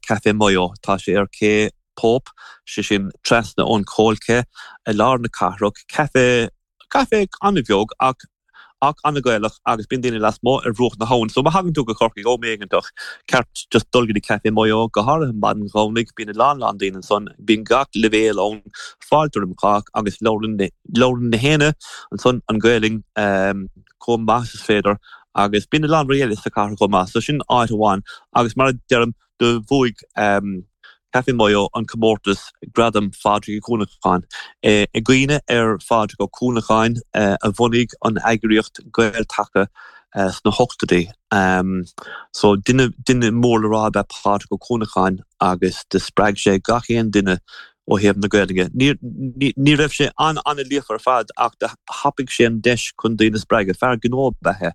Café Mayo. Tá sé ar Cé Pope, sé sin trasna ón Coal Quay i lár na cathrach. Caife, caife an-bheag ach ach an-Ghaelach agus bíonn daoine lasmuigh ar bhruach na habhann. So má thagann tú go Corcaigh am éigeantach, ceart just dul go dtí Café Mayo, go háirithe maidin Dhomhnaigh, bíonn a lán lán daoine ansan, bíonn gach leibhéal ann, fáilte roimh chách agus labhrann labhrann na héinne ansan an Ghaelainn chomh maith is is féidir agus bíonn a lán rudaí eile sa chathair chomh maith. So sin áit amháin agus mar a deirim do bhuaigh Café Mayo an comórtas Gradam Phádraig Uí Chuanacháin. I gcuimhne ar Phádraig Ó Cuanacháin a bhunaigh an eagraíocht Gael-Taca sna hochtóidí. So duine duine mór le rá ab ea Pádraig Ó Cuanacháin agus do spreag sé gach aon duine ó thaobh na Gaeilge. Ní raibh sé an-an-líofa ar fad ach do thapaigh sé an deis chun daoine a spreagadh. Fear gnó ab ea é,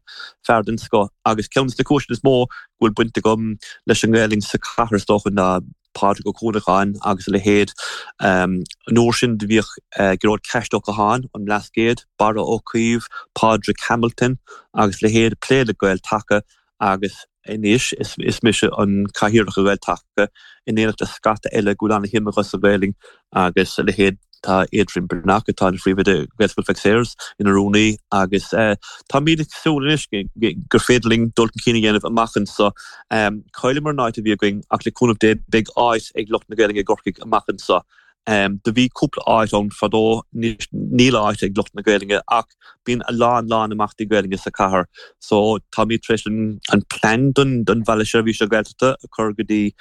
fear den scoth agus ceann de na cúiseanna is mó go bhfuil baint agam leis an nGaelainn sa chathair is dócha ná Pádraig Ó Cuanacháin agus a leithéid. An uair sin do bhíodh Gearóid Ceaist Ó Catháin ón mBlascaod, Barra Ó Caoimh, Pádraig Hamilton agus a leithéid ag plé le Gael-Taca agus anois is mise an Cathaoirleach ar Ghael-Taca in éineacht le scata eile go bhfuil an-shuim acu sa Ghaelainn agus a leithéid. Tá Adrian Breathnach, atá ina phríomhoide Ghaelscoil Mhic Sayers, ina rúnaí agus táimid ag súil anois gur féidir linn dul chun cinn a dhéanamh amach anseo. Chailleamar an áit a bhí againn ach le cúnamh Dé beidh áit ag lucht na Gaelainne i gCorcaigh amach anseo. Do bhí cúpla áit ann fadó, anois níl áit ag lucht na Gaelainne ach Bíonn a lán lán imeachtaí Gaelainne sa chathair so táimid tar éis an plean don don Bhaile Seirbhíse Gaeltachta a chur go dtí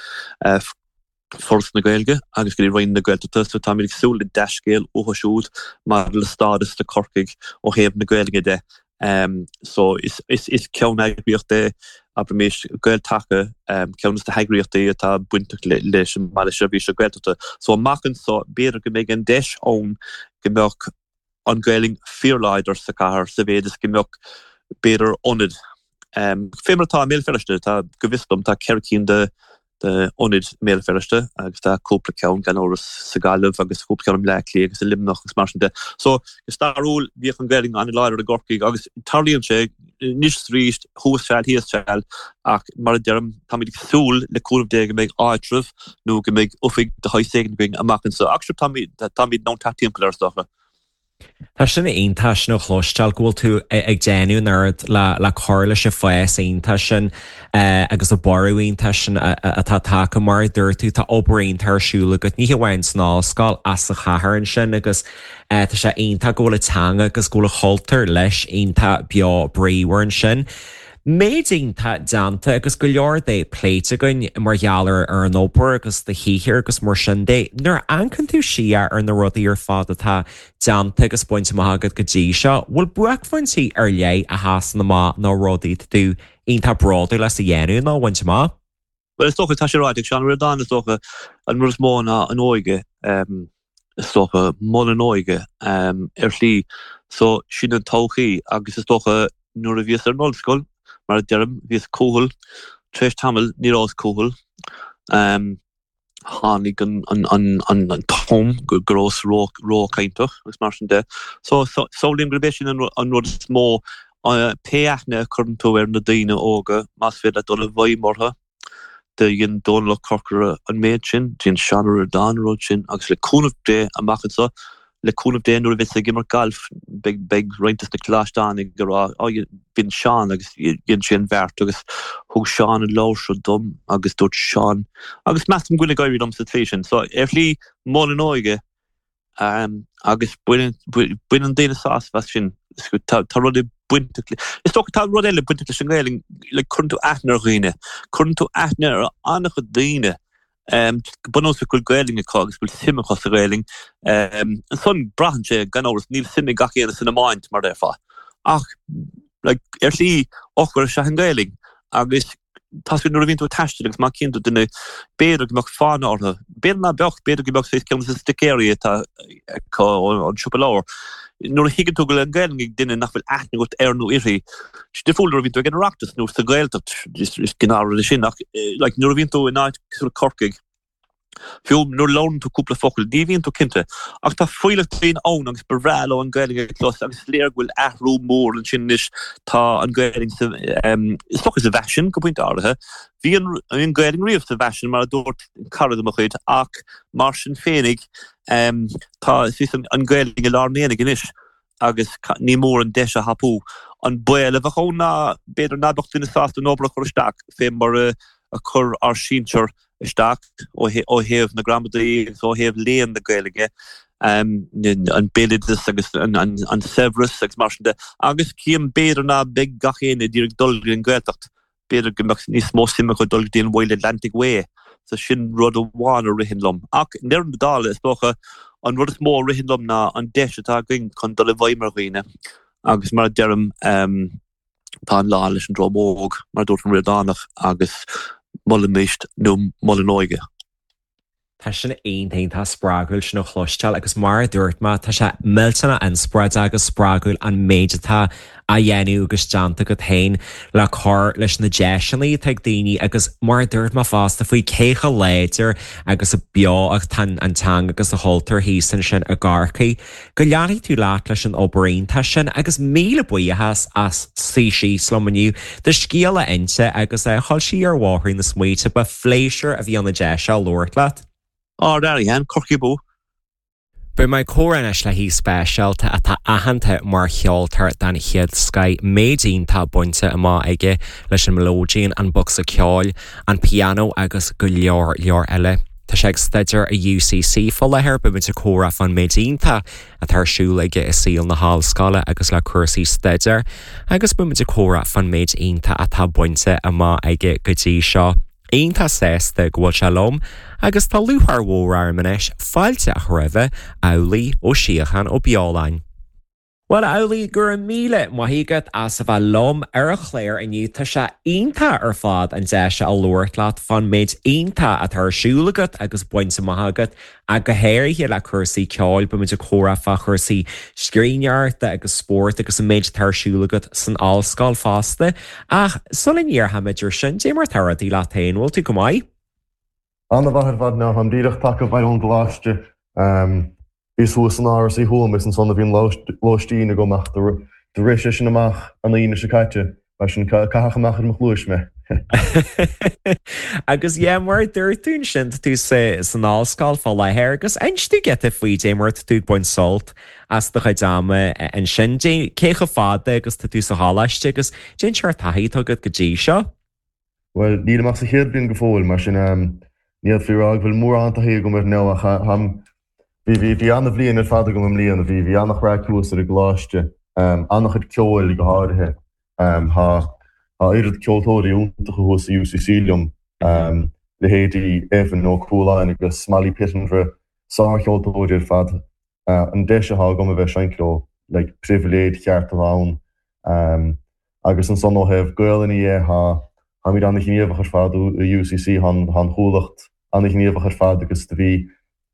Foras na Gaeilge agus go dtí Roinn na Gaeltachta so táimid ag súil le dea-scéal uathu siúd maidir le stádas do Chorcaigh ó thaobh na Gaelainne de. So is is is ceanneagraíocht é abraimis Gael-Taca ceann de na heagraíochtaí atá bainteach leis an mBaile Seirbhíse Gaeltachta. So amach anseo b'fhéidir go mbeidh an deis ann go mbeadh an Ghaelainn fíorláidir sa chathair sa mhéid is go mbeadh, b'fhéidir, ionad, fé mar atá i mBéal Feirste, tá, go bhfios dom, tá 4 cinn de d'ionaid i mBéal Feirste agus tá cúpla ceann, gan amhras, sa Ghaillimh agus cúpla ceann i mBleá Cliath agus i Luimneach agus mar sin de. So, go stairiúil, bhíodh an Ghaelainn an-láidir i gCorcaigh agus tarlaíonn sé anois is arís, thuas seal, thíos seal, ach mar a deirim, táimid ag súil le cúnamh Dé go mbeidh áitreabh nó go mbeidh oifig de shaghas éigin againn amach anseo. Ach sure, táimid, táimid in ann teacht timpeall air, is dócha. Tá sin iontach sin a chloisteáil go bhfuil tú ag déanamh an oiread le le cur leis an fás iontach sin agus an borradh iontach sin atá tagtha. Mar a dúirt tú, tá obair iontach ar siúl agat, ní hamháin san ollscoil ach sa chathair ansin agus tá sé iontach go bhfuil an teanga agus go bhfuil an cultúr leis iontach beo bríomhar ansin. Méid iontach déanta agus go leor de pléite againn mar gheall ar an obair agus do shaothar agus mar sin de. Nuair a amharcann tú siar ar na rudaí ar fad atá déanta agus bainte amach agat go dtí seo, bhfuil buaicphointí ar leith a sheasann amach nó rudaí atá tú iontach bródúil as a dhéanamh nó a bhaint amach? Bhuel, is dócha, tá sé ráite ag Seán Ó Ríordáin, is dócha, an rud is mó ná an óige, is dócha, mol an óige, ar shlí. So, sin an todhchaí agus is dócha nuair a bhíos ar an ollscoil, mar a deirim, bhíos cúthail, tar éis tamaill ní rabhas cúthail. Tháinig an t-am go rabhas róchainteach agus mar sin de. So, samhlaím gurb é sin an rud is mó Pé aithne a chuireann tú ar na daoine óga, más féidir leat dul i bhfeidhm orthu, do dhein Dónal Ó Corcora an méid sin, dhein Seán Ó Ríordáin an rud sin, agus le cúnamh Dé, amach anseo, le cúnamh Dé, nuair a bheas ag imirt gailf, beidh roinnt des na coláisteánaigh ag rá, Á, b'in Seán agus dhein sé an bheart agus thug Seán an leabhar seo dom agus dúirt Seán, agus measaim go bhfuil ag éirí liom sa tslí sin. So, ar shlí, mol an óige, Agus baineann daoine sásamh as sin. Tá rudaí bainteach le, is dócha tá rud eile bainteach leis an nGaelainn, like cuireann tú aithne ar dhaoine, cuireann tú aithne ar an-chuid daoine go bunúsach go bhfuil Gaelainn acu agus go bhfuil suim acu sa Ghaelainn. Ansan braitheann sé, gan amhras, níl suim ag gach éinne san iomáint mar déarfá. Ach like ar shlí eochair is ea an Ghaelainn agus Tá sé nuair a bhíonn tú ag taisteal agus má chíonn tú duine, b'fhéidir go mbeadh fána orthu, b'fhéidir ná beadh, b'fhéidir go mbeadh saghas ceann de na sticéirí atá acu ón siopa leabhar. Nuair a thuigeann tú go bhfuil an Ghaelainn ag duine nach bhfuil aithne agat air nó uirthi, is difriúil nuair a bhíonn tú ag an Oireachtas nó sa Ghaeltacht, is gnáthrud é sin, ach like nuair a bhíonn tú in áit cosúil le Corcaigh. Fiú nuair a labhrann tú cúpla focal, ní bhíonn tú cinnte. Ach tá fuílleach daoine ann agus ba bhreá leo an Ghaelainn a chlos agus is léir go bhfuil athrú mór ansin anois. Tá an Ghaelainn sa, is dócha sa bhfaisean go pointe áirithe. Bhí an, bhí an Ghaelainn riamh sa bhfaisean mar a dúirt cara de mo chuid ach mar sin féinig tá an Ghaelainn i lár an aonaigh anois. agus ní mór an deis a thapú. An baol a bheadh ann ná b'fhéidir ná beadh duine sásta an obair a chur isteach fé mar a chuir ár sinsear isteach ó thaobh na gramadaí agus ó thaobh léann na Gaeilge, an béaloideas agus an saibhreas agus mar sin de. Agus cím b'fhéidir ná beidh gach éinne ag iarraidh dul go dtí an Ghaeltacht. B'fhéidir go mbeadh níos mó suim acu dul go dtí an Wild Atlantic Way, so sin rud amháin a ritheann liom. Ach i ndeireadh na dála, is dócha, an rud is mó a ritheann liom ná an deis atá againn chun dul i bhfeidhm ar dhaoine agus mar a deirim, tá an lá leis an dream óg, mar a dúirt an Ríordánach, agus molaimis nó mol an óige. Tá sin iontach iontach spreagúil sin a chloisteáil agus mar a dúirt mé, tá sé millteanach inspioráideach agus spreagúil an méid atá á dhéanamh agus déanta agat féin le cur leis na deiseanna atá ag daoine agus mar a dúirt mé fosta faoi cé chomh láidir agus beo atá an teanga agus an cultúr thíos ansin i gCorcaigh. Go leanfaidh tú leat leis an obair iontach sin agus míle buíochas as suí síos liom inniu do scéal a inse agus a dhul siar ar bhóithrín na smaointe. Ba phléisiúr a bhí ann an deis seo labhairt leat. Ard-airí, Corcaigh abú! Beidh mé ag comhrá anois le haoi speisialta atá aitheanta mar cheoltóir den chéad scoith, méid iontach bainte amach aige leis an mileoidean, an bocsa ceoil, an pianó agus go leor leor eile. Tá sé ag staidéar i UCC fá láthair, beimid ag comhrá fán méid iontach atá ar siúl aige i saol na hollscoile agus le cúrsaí staidéir agus beimid ag comhrá fán méid iontach atá bainte amach aige go dtí seo. Iontach sásta go bhfuil sé liom agus tá lúcháir mhór orm anois fáilte a chur roimhe, Amhlaoibh Ó Síocháin Ó Beoláin. Bhuel, a Amhlaoibh, go raibh míle maith agat as a bheith liom ar an chlár inniu. Tá sé iontach ar fad an deis seo a labhairt leat fán méid iontach atá ar siúl agat agus bainte amach agat, ach go háirithe le cúrsaí ceoil. Beimid ag comhrá fá chúrsaí scríbhneoireachta agus spóirt agus an méid atá ar siúl agat san ollscoil fosta. Ach sula ndéarfaimid ar sin, dé mar atá rudaí leat féin, bhfuil tú go maith? An-mhaith ar fad now, táim díreach tagtha abhaile ón gcoláiste. Bhíos thuas san Áras Uí Thuama is ansan a bhí an lóistín agam ach do rith sé sin amach an Aoine seo caite, mar sin caitheadh amach ar mo chluais mé. Agus yeah, mar a dúirt tú ansin, tá tú san ollscoil fá láthair agus inis dúinn giota faoi dé mar atá tú ag baint sult as do chuid ama ansin, dé cé chomh fada agus tá tú sa choláiste agus cén seort taithí atá agat go dtí seo. Bhuel, nílim ach sa chéad bhliain go fóill, mar sin ní fhéadfaí a rá go bhfuil mórán taithí agam air now ach táim, bhí, bhí, bhí ana-bhliain ar fad agam i mbliana, bhí, bhí ana-chraic thuas ar an gcoláiste, ana-chuid ceoil go háirithe. Tá, tá oiread ceoltóirí iontacha thuas i UCC liom, leithéidí Evan Ó Cualáin agus Molly Pittenborough, sárcheoltóirí ar fad. An deis atá agam a bheith ag seinnt leo, like, pribhléid cheart atá ann. Agus ansan ó thaobh Gaolainne dhe, tá, táimid ana-ghníomhach ar fad i UCC, tá an, tá an Chuallacht ana-ghníomhach ar fad agus do bhí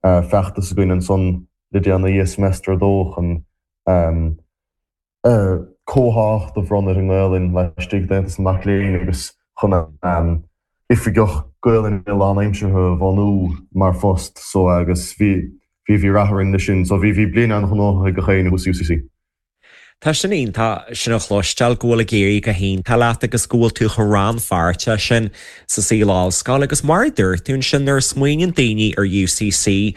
feachtas againn ansan le déanaí i semester 2 chun comhthácht a bhronnadh ar an nGaolainn laistigh d'Aontas na Mac Léinn agus chun oifigeach Gaolainne lánaimseartha a bhunú mar phost so agus bhí, bhí, bhí rath orainn leis sin so bhí, bhí bliain an-ghnóthach ag gach éinne thuas i UCC. Tá sin iontach sin a chloisteáil, go bhfuil ag éirí go hiontach leat agus go bhfuil tú chomh rannpháirteach sin sa saol ollscoile. Agus mar a dúirt tú ansin, nuair a smaoiníonn daoine ar UCC,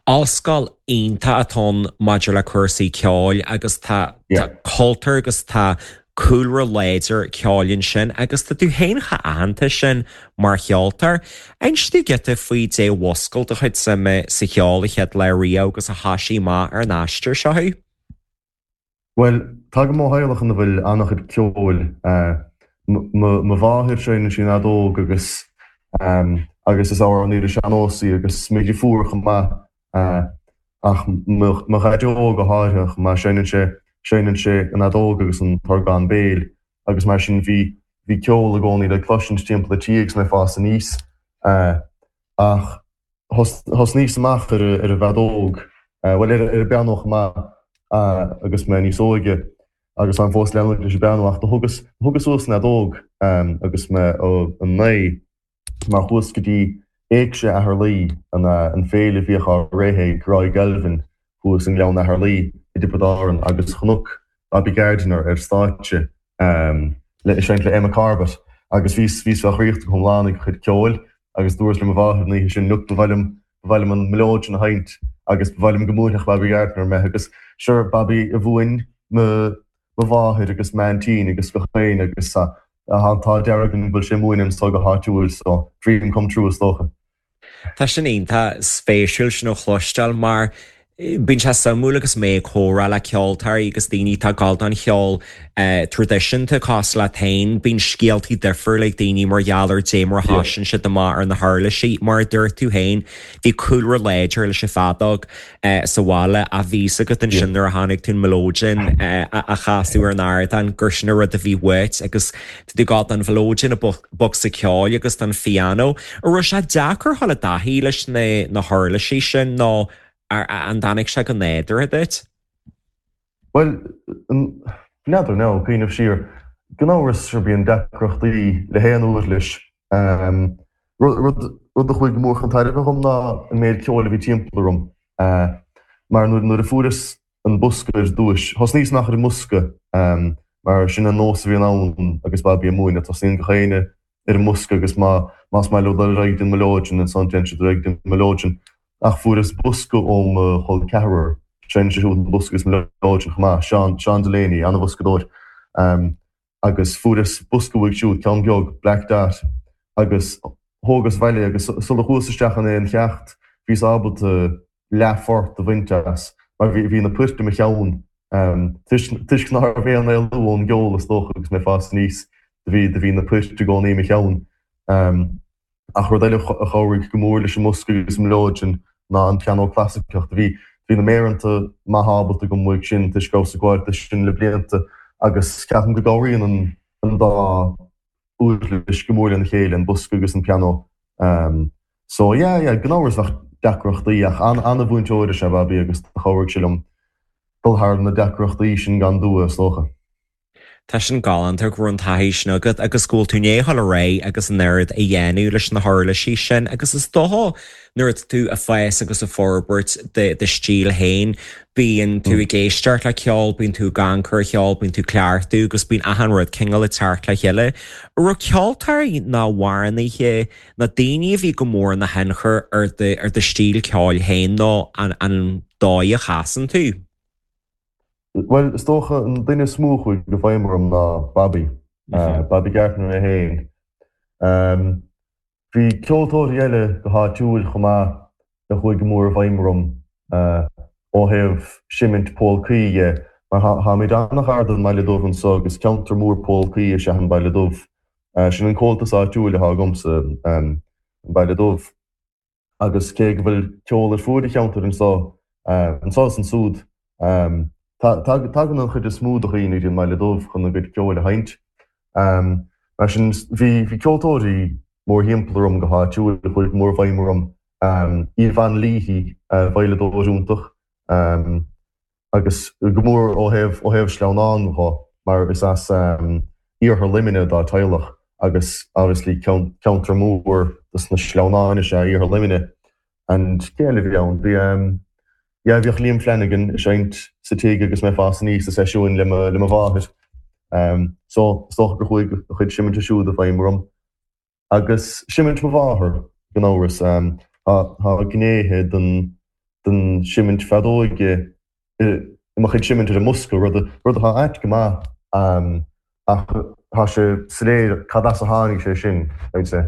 ollscoil iontach atá ann maidir le cúrsaí ceoil agus tá cultúr agus tá cúlra láidir ceoil ansin agus tá tú féin chomh aitheanta sin mar cheoltóir. Inis dúinn giota faoi dé mhúscail do chuid suime sa cheol a chéad lá riamh agus a thoisigh amach ar an aistear seo thú. Bhuel, tagaim ó theaghlach ina bhfuil an-chuid ceoil. Mo mháthair, seinneann sí an fheadóg agus agus is amhránaí ar an sean-nós í agus mo dhriofúr chomh maith. Ach mo dhaideo go háirithe chomh maith, seinneann sé seinneann sé an fheadóg agus an t-orgán béil agus mar sin bhí bhí ceol i gcónaí le cloisint timpeall an tí agus mé ag fás aníos. Ach Thosnaíos amach ar an bhfeadóg, bhuel, ar an bpianó chomh maith agus mé níos óige agus táim fós ag leanúint leis an bpianó ach do thugas, thugas suas an fheadóg agus mé 9 mar chuas go dtí. Éigse Cheatharlaí, an féile a bhíodh á rith ag Roy Galvin thuas i nGleann Cheatharlaí i dTiobraid Árann agus chonac Bobby Gardiner ar stáitse le ag seinnt le Emma Corbett agus bhíos bhíos fá dhraíocht go hiomlán ag a chuid ceoil agus dúras le mo mháthair an oíche sin look ba mhaith liom ba mhaith liom an mileoidean a sheinnt agus ba mhaith liom go mbuailfeadh Bobby Gardiner mé agus sure Bobby a mhúin mo mo mháthair agus m'aintín agus gach éinne agus tá an t-ádh dearg go bhfuil sé ag múineadh anso go háitiúil so dream come true is dócha. Tá sin iontach spéisiúil sin a chloisteáil mar bíonn sé suimiúil agus mé ag comhrá le ceoltóirí agus daoine atá ag gabháil don cheol traidisiúnta cosúil leat féin, bíonn scéaltaí difriúla ag daoine mar gheall ar dé mar a thosaíonn siad amach ar na huirlisí. Mar a dúirt tú féin, bhí cúlra láidir leis an bhfeadóg sa bhaile ach bhí fhios agat ansin nuair a chonaic tú an mileoidean á chasadh ar an ardán gur sin an rud a bhí uait agus tá tú ag gabháil don mhileoidean, an bocsa ceoil agus don phianó. An raibh sé deacair dhul i dtaithí leis na huirlisí sin nó an dtáinig sé go nádúrtha duit? Bhuel, n'fheadar now, cuimhneamh siar, gan amhras sure bíonn deacrachtaí le haon uirlis. Rud a chuaigh go mór chun tairbhe dhom ná an méid ceoil a bhí timpeall orm. Mar nuair a fuaireas an bosca ar dtúis, thosnaíos amach ar an mbosca mar sin an nós a bhíonn ann agus Bobby ag múineadh, tosnaíonn gach éinne ar an mbosca agus má más maith leo dul ar aghaidh den mileoidean ansan téann siad ar aghaidh den mileoidean. Ach fuaireas bosca ó mo chol ceathrar, seinneann sé siúd an bosca agus mileoidean chomh maith, Seán, Seán Delaney, an-bhoscadóir. Agus fuaireas bosca uaidh siúd, ceann beag, Black Dot, agus thógas abhaile agus sula chuas isteach in aon cheacht bhíos ábalta leathphort a bhaint as mar bhí na poirt i mo cheann toisc ná raibh aon éalú ón gceol is dócha agus mé ag fás aníos do bhí do bhí na poirt i gcónaí i mo cheann. Ach rud eile a chabhraigh go mór leis an mbosca agus an mileoidean ná an pianó clasaiceach. Do bhí bhí na méireanta maith ábalta agam uaidh sin toisc go rabhas ag gabháil do sin le blianta agus ceapaim go gcabhraíonn an an dá uirlis go mór lena chéile, an bosca agus an pianó. So yeah, yeah, gan amhras bheadh deacrachtaí ach an-mhúinteoir is ea Bobby agus do chabhraigh sé liom dul thar na deacrachtaí sin gan dua, is dócha. Tá sin galánta go raibh an taithí sin agat agus go bhfuil tú i ndiaidh dul ar aghaidh agus an oiread a dhéanamh leis na huirlisí sin agus is dócha nuair atá tú ag fás agus ag forbairt do stíl féin bíonn tú ag éisteacht le ceol, bíonn tú ag amharc ar cheol, bíonn tú ag cleachtadh agus bíonn achan rud cineál ag teacht le chéile. An raibh ceoltóirí nó amhránaithe nó daoine a bhí go mór ina thionchar ar do ar do stíl ceoil féin nó an an dóigh a chasann tú? Bhuel, is dócha an duine is mó a chuaigh i bhfeidhm orm ná Bobby, Bobby Gardiner é féin. Bhí ceoltóirí eile go háitiúil chomh maith a chuaigh go mór i bhfeidhm orm ó thaobh seimint pólcaí dhe, mar táimid an-ghar don mBaile Dubh anso agus ceantar mór pólcaí is ea an Baile Dubh. Sin an comhaltas áitiúil atá agamsa, an Baile Dubh. Agus cé go bhfuil ceol ar fuaid an cheantair anso, anso is ansúd, tagann an chuid is mó de dhaoine go dtí an mBaile Dubh chun a gcuid ceoil a sheinnt. Mar sin, bhí ceoltóirí mórthimpeall orm go háitiúil a chuaigh go mór i bhfeidhm orm. Yvonne Leahy, veidhleadóir iontach, agus go mór ó thaobh ó thaobh sleamhnán dho mar is as iarthar Luimnigh dá teaghlach agus obviously ceantar mór dos na sleamhnáin is ea iarthar Luimnigh and cé eile a bhí ann? Bhí yeah bhíodh Liam Flanagan ag seinnt sa tigh agus mé ag fás aníos i seisiúin le mo le mo mháthair so is dócha gur chuaigh a chuid seiminte siúd i bhfeidhm orm. Agus seimint mo mháthar, gan amhras. Tá gnéithe den seimint feadóige i mo chuid seimint ar an mbosca, rud atá ait go maith, ach tá sé soiléir cad as a tháinig sé sin, I'd say.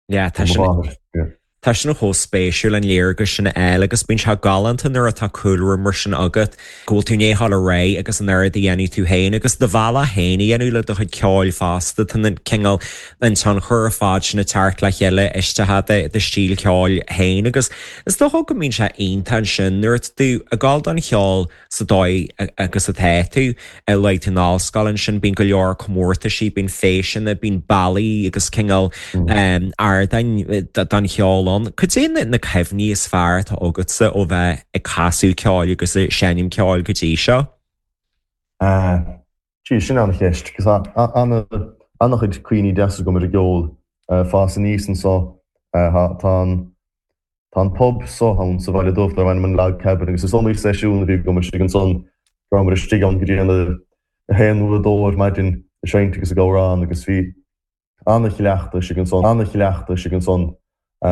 Yeah, tá sin. Tá sin chomh spéisiúil an léargas sin a fháil agus bíonn sé galánta nuair atá cúlra mar sin agat, go bhfuil tú i ndiaidh dul ar aghaidh agus an oiread a dhéanamh tú féin agus do bhealach féin a dhéanamh le do chuid ceoil fosta. Tá an cineál, an tionchar ar fad sin ag teacht le chéile isteach i do stíl ceoil féin agus is dócha go mbíonn sé iontach ansin nuair atá tú ag gabháil don cheol sa dóigh agus atá tú. Luaigh tú an ollscoil ansin, bíonn go leor comórtaisí, bíonn feiseanna, bíonn bealaí agus cineál ardáin don cheol ann. Cad é na cuimhní is fearr atá agatsa ó bheith ag casadh ceoil agus ag seinm ceoil go dtí seo? Gee, sin an-cheist, 'cause tá an-chuid cuimhní deasa agam ar an gceol. Fás aníos anso. Tá an Tá an pub so ann sa Bhaile Dubh darb ainm an Log Cabin agus is iomaí seisiún a bhí agam istigh ansan go rabhamar istigh ann go dtí an 1 nó 2 ar maidin ag seinnt agus ag amhrán agus bhí ana-chleachtadh istigh ansan, ana-chleachtadh istigh ansan.